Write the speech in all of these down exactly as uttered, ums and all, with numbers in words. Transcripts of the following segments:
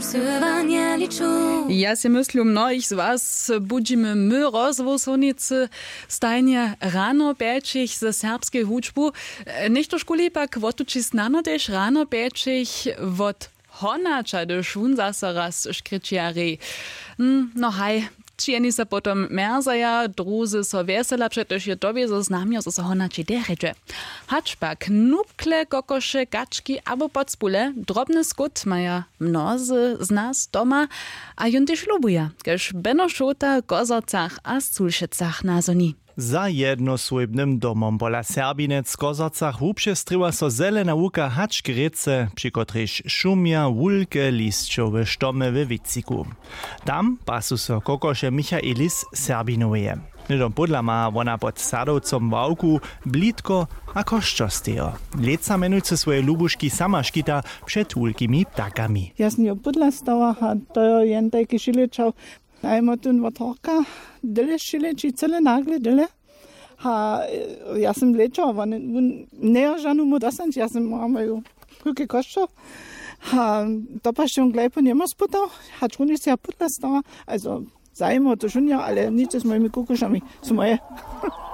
Scyłanje liču. Ja sej myslu, mnohich z was budźimy my rozwołsownicy stajnje rano pjećich ze serbskej hudźbu. Něchtožkuli pak wotući snano tež rano pjećich wot honaća, hdyž wón zaso raz škrići a rej. Hm, no haj, ći jeni so potom mjerzaja, druzy so wjesela, přetož je to wězo znamjo zo so honaći derjedźe. Hač pak nupkle, kokoše, kački abo podspule, drobny skót maja mnozy z nas doma. A jón tež lubuja, kaž beno šołta w kozorcach a sculšecach nazhoni. Za jednosłójbnym domom pola serbinec w kozorcach wupřestrěła so zelena łuka hač k rěce, při kotrejž šumja wulke lisćowe štomy we wětřiku. Tam pasu so kokoše michaelis serbinoweje. Hnydom pódla ma wona pod sadowcom ławku, blitko a kosćerstejo. Lětsa mjenujcy swoje lubuški sama škita před wulkimi ptakami. Ja sym jo pódla stała a to jo jen tajki šilečał. Najmotyn wot horka, dyle šileći cyle nagle dyle. A ja sym lečała, won njejo žanu mu dostanć, ja sym mała moju kółke kosćo. A to pašćom glejpo njemóž spytał, hač runje se ja pódla stała. Also zajimo to šunja, ale nic z mojimi kokošami su moje.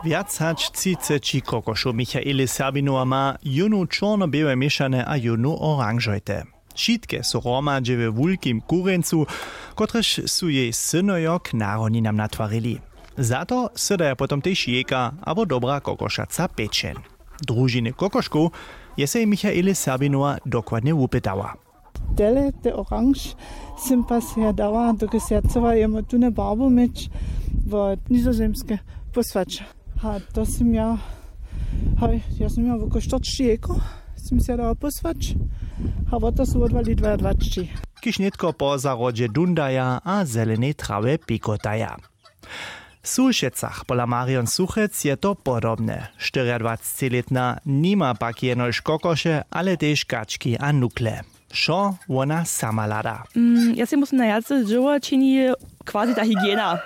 Wjac hač třiceći kokošow michaeli serbinowa ma, jónu čorno-běłe měšane a jónu oranžojte. Wšitke su hromadźe we wulkim kurjeńcu, kotrež su jej synojo k narodninam natwarili. Za to sydaja potom tež jejka abo dobra kokošaca pečeń. Družiny kokoškow je sej michaeli serbinowa dokładnje wupytała. Tele te oranž sym pa seja dała, dokelž seja chcyła jemu tune barbu měć wot nizozemske pósłać. A to sym ja, haj, ja sym ja woko štyrćići jejkow sym seja dała pósłać. A wot to su wotwali dwajadwaćići. Kiž nětko po zahrodźe dundaja a zelenej trawje pikotaja. W Sulšecach pola Marion Suchec je to podobne. Štyriadwacećilětna nima pak jenož kokoše, ale tež kački a nukle. Wšo wona sama hlada. Mm, ja sej musym najwjace dźěło čini quasi ta hygiena.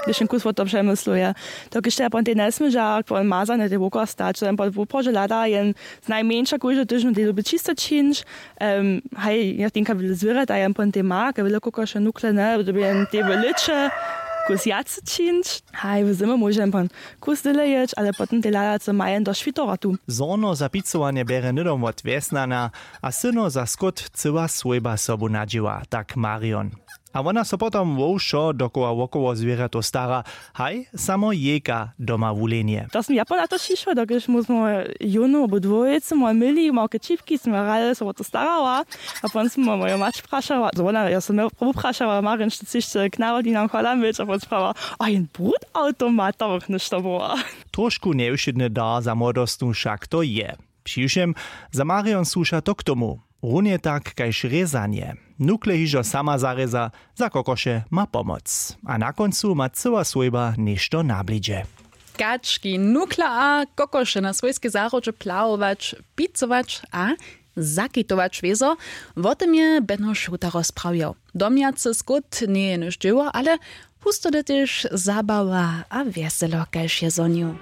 Hdyž jen kus wot to přemysluje, dokelž te pon tej njesměža mazane te wokoła stać, to jen pon wuprožo hlada jen znajmjeńša kóždy tydźeń tej dyrbje čisto čińć. Em, haj, ja tenka wjele zwěrjata jen pon tej ma, ke wjele kokoše nukle, ne, dyrbje jen tej w lěće kus wjace čińć. Haj, w zymy móže jen pon kus dyle jěć, ale potom tej hlada co ma jen do šwitorotu. Zhorno za picowanje bjerje hnydom wot wjesnana, a syno za skót cyła swójba sobu nadźěła, tak Marion. A wona so potom wo wšo dokoła wokoło zwěrjatow stara, haj, samo jejka doma wulenje. To smy ja pola to šišła, dokelž my smo jónu abo dwójce moje měli, małke čipki smy hrali, so wo to starała. A pon smy moju mać prašała, zo wona, ja smy prawu prašała, Marion, šty chceš k narodninam chola měć, a pon sprała, a jen brud automat, to bych něšto była. Trošku njewšědny dar za młodostnu wšak to je. Přiwšěm, za Marion słuša to k tomu, runje tak kaž rězanje. Nukle hižo sama zarěza, za kokoše ma pomoc. A na kóncu ma cyła swójba něšto na blidźe. Kački, nukle a kokoše na swójskej zahrodźe plawować, picować a zakitować wězo. Wo tym je beno šuta rozprawjał. Domjacy skót njeje jenož dźěło, ale husto to tež zabawa a wjeselo kaž je zhonił.